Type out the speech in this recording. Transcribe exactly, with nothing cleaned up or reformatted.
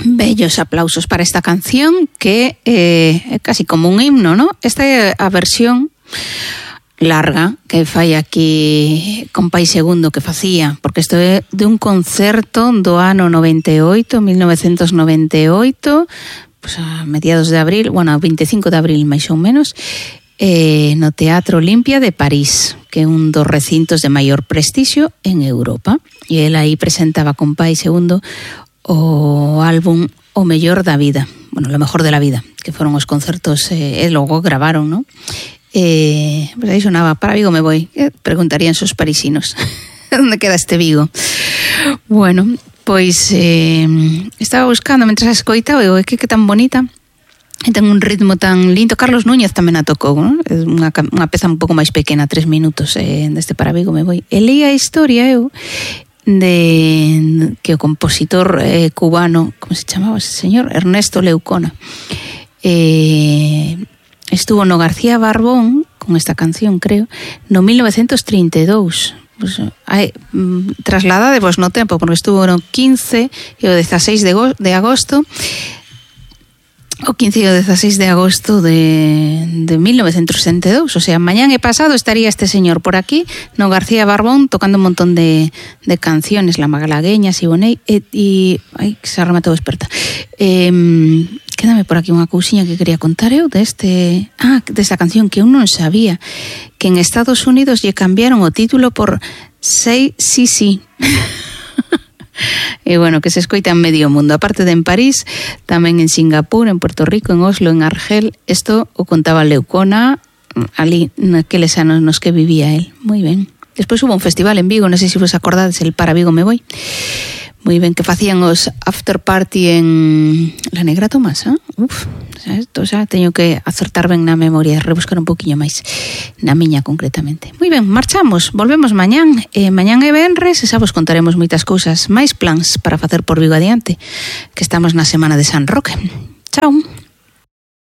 Bellos aplausos para esta canción que é eh, casi como un himno, ¿no? Esta é a versión larga que fai aquí con Pai Segundo que facía, porque isto é de un concerto do ano noventa e oito, mil novecentos noventa e oito, pues a mediados de abril, bueno, a veinticinco de abril máis ou menos, eh, no Teatro Olimpia de París, que é un dos recintos de maior prestixio en Europa. E el aí presentaba con Pai Segundo o álbum O Mellor da Vida, bueno, lo mejor de la vida, que foron os concertos, eh, e logo gravaron, ¿no? Eh, pues aí sonaba Para Vigo me voy, eh, preguntarían sus parisinos, onde queda este Vigo? Bueno, pois eh, estaba buscando, mentras escoitaba, e que que tan bonita, e ten un ritmo tan lindo. Carlos Núñez tamén a tocou, ¿no? É unha, unha peza un pouco máis pequena, tres minutos, eh, deste Para Vigo me voy. E leí a historia eu, de que o compositor eh, cubano, como se chamaba ese señor? Ernesto Leucona, eh, estuvo no García Barbón con esta canción, creo, no mil novecentos trinta e dous. Pues, hai, trasladadevos no tempo, porque estuvo no quince e o dezaseis de agosto, o quince e o dezaseis de agosto de, de mil novecentos sesenta e dous, o sea, mañán e pasado estaría este señor por aquí no García Barbón tocando un montón de, de canciones, La Magalagueña, Siboney, e, e ai, que se rematou experta. Eh, quédame por aquí unha cousiña que quería contar eu deste, ah, desta canción que eu non sabía, que en Estados Unidos lle cambiaron o título por Say Sí Sí. E bueno, que se escoita en medio mundo, aparte de en París, tamén en Singapur, en Puerto Rico, en Oslo, en Argel. Isto o contaba Leucona ali naqueles anos nos que vivía él. Moi ben. Despois hubo un festival en Vigo, non sei se vos acordades, el Para Vigo me voy. Moi ben, que facían os after party en La Negra Tomasa. Uf, esto xa teño que acertar ben na memoria, rebuscar un poquinho máis na miña concretamente. Moi ben, marchamos, volvemos mañán. Eh, mañán é venres e xa vos contaremos moitas cousas, máis plans para facer por Vigo adiante, que estamos na semana de San Roque. Chao.